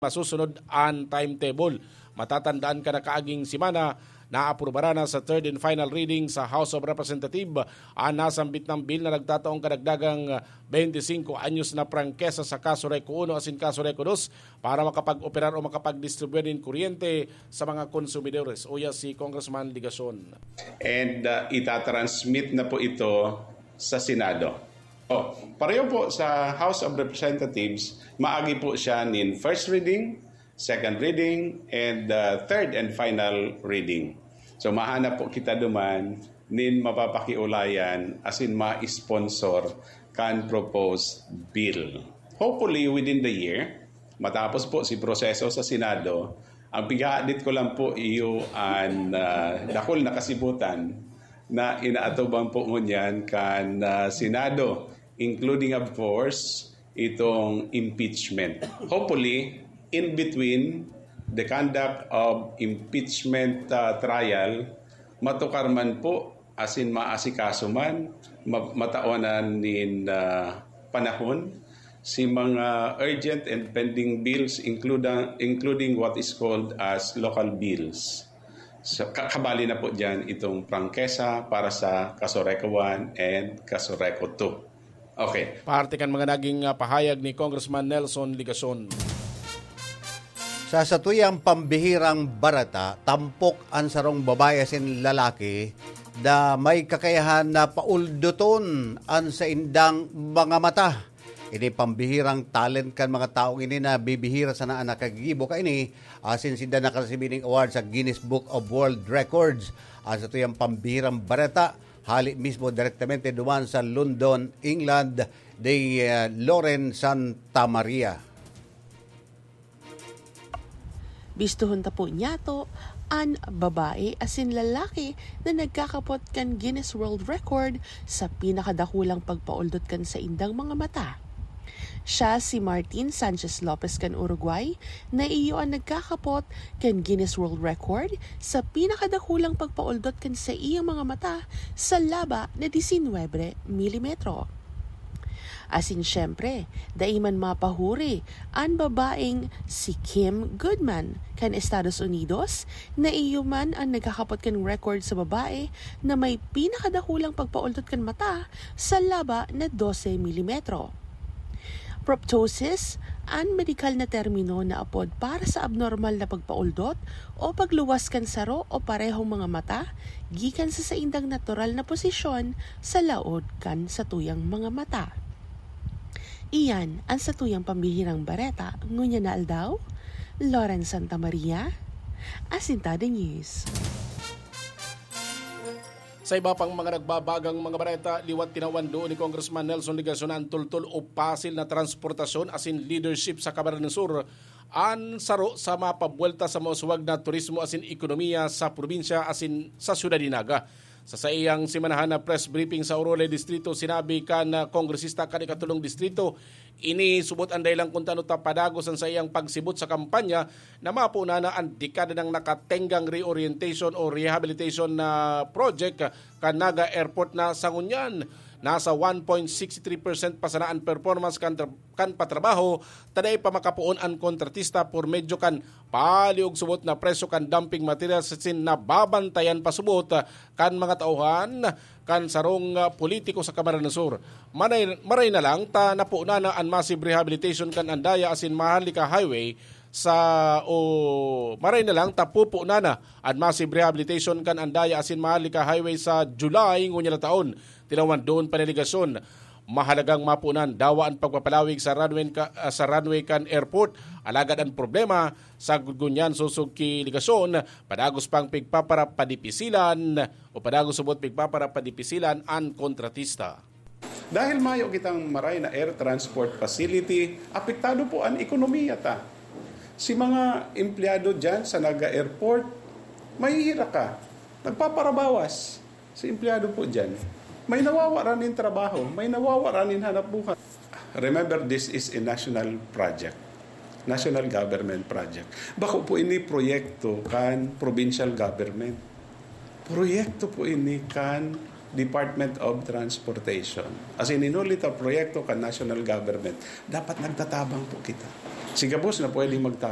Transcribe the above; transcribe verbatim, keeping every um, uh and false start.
masusunod an timetable. Matatandaan kan nakaaging semana, naaprubaran na sa third and final reading sa House of Representatives an nasambit na bill na nagtataong kadagdagang twenty-five anyos na prangkesa sa Casureco uno asin Casureco dos para makapag-operar o makapag-distribuir nin kuryente sa mga konsumidores. Uya si Congressman Legacion. And uh, itatransmit na po ito sa Senado. Oh, pareho po sa House of Representatives, maagi po siya nin first reading, second reading, and uh, third and final reading. So mahanap po kita duman nin mapapakiulayan asin ma-sponsor kan proposed bill. Hopefully within the year, matapos po si proseso sa Senado, ang pighahadit ko lang po iyo an uh, dakul na kasibutan na inaatubang po ngunyan kan uh, Senado, including of course itong impeachment. Hopefully, in between the conduct of impeachment uh, trial, matukar man po asin maasikaso man, ma- mataonan nin uh, panahon si mga urgent and pending bills including, including what is called as local bills. So, kakabali na po dyan itong prangkesa para sa Casureco one and Casureco two. Okay. Parte kan mga naging uh, pahayag ni Congressman Nelson Legacion. Sa satuyang pambihirang bareta, tampok an sarong babae asin lalaki na may kakayahan na paulduton an saindang mga mata. Ini pambihirang talent kan mga taong ini na bibihira sana an nakagigibo kaini, asin sinda nakaresibi ning award sa Guinness Book of World Records. An satuyang pambihirang bareta, hali mismo direktamente duman sa London, England, ni uh, Lauren Santa Maria. Bistohon ta po niyato an babae asin lalaki na nagkakapot kan Guinness World Record sa pinakadakulang pagpaoldot kan saindang mga mata. Siya si Martin Sanchez Lopez kan Uruguay, na iyo an nagkakapot kan Guinness World Record sa pinakadakulang pagpaoldot kan saiyang mga mata sa laba na disinwebe milimetro. Asin siyempre, dai man mapahuri an babaeng si Kim Goodman kan Estados Unidos, na iyo man ang nagkakapot kan record sa babae na may pinakadakulang pagpaoldot kan mata sa laba na dose milimetro. Proptosis, an medikal na termino na apod para sa abnormal na pagpaoldot o pagluwas kan saro o parehong mga mata gikan sa saindang natural na posisyon sa laog kan satuyang mga mata. Iyan an satuyang pambihirang bareta ngunyan na aldaw. Lauren Santa Maria, Asintado News. Sa iba pang mga nagbabagang mga bareta, liwat tinawan doon ni Congressman Nelson Legacion an tultol o pasil na transportasyon asin leadership sa Camarines Sur, an saro sa mapabuwelta sa mauswag na turismo asin ekonomiya sa probinsya asin sa siyudad nin Naga. Sa saiyang semanahan na press briefing sa Orole Distrito, sinabi kan, ah, kongresista kan ikatulong distrito, ini subot an dahilan kun tano ta padagos an saiyang pagsibot sa kampanya na mapoon na an dekada nang nakatenggang reorientation o rehabilitation na project kan Naga Airport na sa ngunyan nasa one point six three percent pa sana an performance kan tra- kan patrabaho, ta dai pa makapoon an kontratista por medyo kan paliog subot na presyo kan dumping materials asin nababantayan pa subot kan mga tauhan kan sarong, ah, politiko sa Camarines Sur. Manay, maray na lang ta napoon na an massive rehabilitation kan Andaya asin Maharlika Highway sa, o maray na lang ta pupunan na an massive rehabilitation kan Andaya asin Maharlika Highway sa July ngunyan na taon. Tinawan doon pa ni Legacion. Mahalagang mapunan dawa an pagpapalawig sa runway ka, ah, sa runway kan airport. Alagad an problema, sagkod ngunyan sosog ki Legacion, padagos pang pigpaparapadipisilan o padagos subot pigpaparapadipisilan an kontratista. Dahil mayo kitang maray na air transport facility, apektado po an ekonomiya ta. Si mga empleyado dyan sa Naga Airport, mahihira ka. Nagpaparabawas si empleyado po dyan. May nawawara nin trabaho, may nawawara nin hanap buhay. Remember, this is a national project. National government project. Bako po ini proyekto kan provincial government. Proyekto po ini kan Department of Transportation. As in, inuli ta proyekto kan national government. Dapat nagtatabang po kita. Si gabos na pwedeng magtabang.